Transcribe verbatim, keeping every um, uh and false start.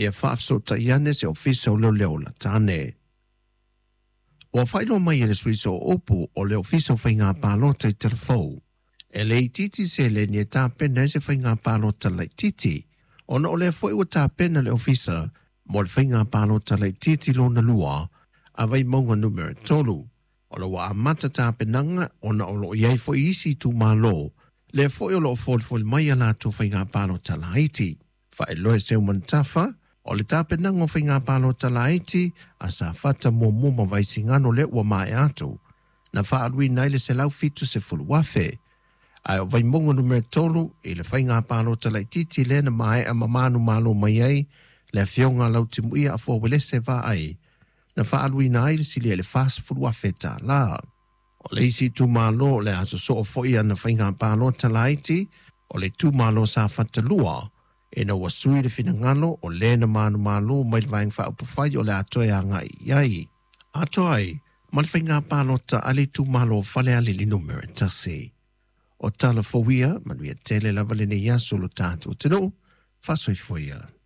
Ia faafesootai ane se Ofisa o Leoleo lata ane. Ua faailoa mai e le Sui Sooupu o le Ofisa o Faiga Palota i Talafou, e le itiiti seleni e tapena ai se faiga palota laitiiti, ona o lea foi ua tapena le Ofisa mo le faiga palota laitiiti lona lua a Vaimauga numera tolu. O lo ua amata tapenaga ona o loo i ai foi isi itumalo lea foi o loo folifoli mai a latou faiga palota laiti. Faailoa e Seumanutafa o le tapenaga o faiga palota laiti a Safata muamua ma Vaisigano lea ua maea atu na faaaluina ai le selau fitu sefulu afe, ae o Vaimauga numera tolu i le faiga palota laitiiti lea na maea ma manumalo mai ai le afioga Lautimuia Afoa Uelese Vaai na faaaluina ai le silia i le fasefulu afe tālā. O le isi itumalo o le a sosoo foi ana faiga palota laiti o le itumalo Safata lua, ina ua sui le finagalo o lē na manumalo mai le Vaega Faaupufai o le a toe agai i ai. Atoa ai ma le faiga palota a le itumalo Falealili numera tasi. O tala fou ia, manuia tele lava lenei aso lo tatou atunuu, faasoifua ia.